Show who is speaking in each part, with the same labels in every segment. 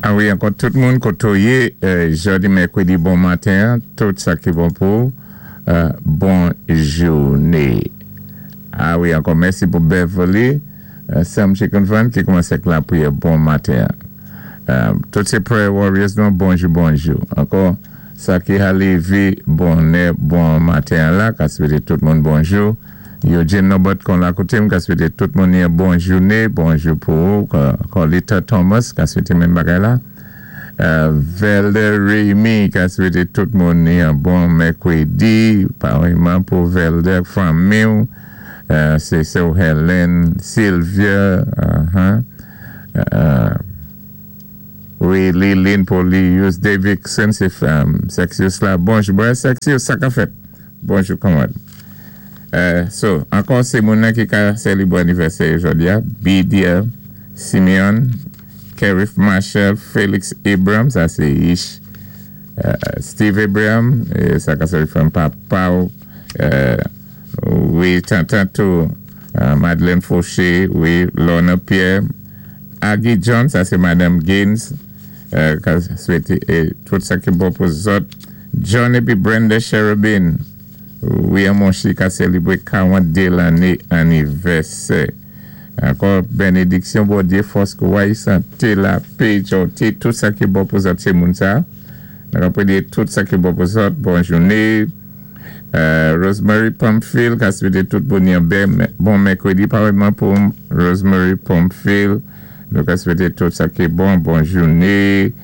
Speaker 1: A wi, ankò tout moun koto yé, jòdi mèkwédi bon maten, tout sa ki bon pou bon jouné. A wi, ankò mèsi pou Beverly, Sam Chicken Fan ki koumansé ak lapriyè bon maten. Tout sé prayer warriors nou, bonjou bonjou. Ankò, sa ki ka lévé bonè bon maten la, ka swété tout moun bonjou. Eugene Norbert kon la koté m ka swété tout moun yon bon jouné, bonjou pou ou, Colita Thomas ka swété menm bagay la. Velder Remy ka swété tout moun yon bon mèkwédi, parèyman pou Velder fanmi, sé sè Helen, Sylvia, wi, Lilin Polius, Davidson, sé Sexius la. Bonjou, bon, Sexius, sa ka fèt? Bonjou, kanmad. So, ankò sé moun ki ka sélibwé anivèsè jòdi a, BDL, Simeon, Kerif Marshall, Felix Abraham, sa sé Ish, Steve Abraham, sa ka sèvi fanmi papa, wi, tantan tou, Madeleine Fauché, wi, Lorna Pierre, Aggie John, sa sé Madame Gaines, ka swété tout sa ki bon pou zòt, John épi Brenda Cherubin, wi, monchi ka sélibwé 42 lanné anivèsè. Ankò bénédiksyon Bondyé, fòs kouway, santé, lapè, jòté, tout sa ki bon pou zòt sé moun sa. Nou ka tout sa ki bon pou zòt. Bon jouné. Rosemary Pumpfield, ka swété tout bon bon mèkwédi parèyman pou Rosemary Pumpfield. Nou ka swété tout sa ki bon, bon jouné.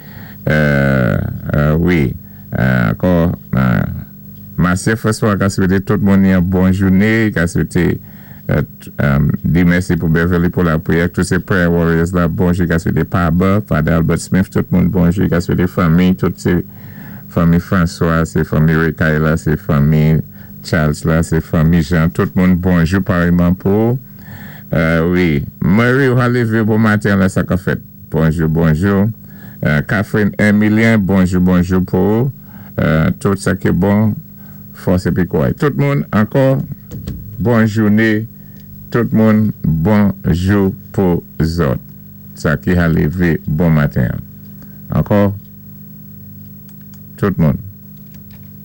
Speaker 1: Wi, ankò, Marcia François ka swété tout moun yon bon jouné, ka swété di mèsi pou Beverly pou lapriyè, tout sé prayer warriors la, bonjou, ka swété Paba, Father Albert Smith, tout moun bonjou, ka swété fanmi, tout sé fanmi François, sé fanmi Rekaila, sé fanmi Charles la, sé fanmi Jean, tout moun bonjou parèyman pou wi, Murray, ou lévé bon maten la, sa ka fèt? Bonjou, bonjou. Catherine Emilien, bonjou, bonjou pou tout sa ki bon, fòs épi kouway. Tout moun, ankò, bon jouné, tout moun, bonjou pou zòt. Sa ki ka lévé bon maten. Ankò, tout moun.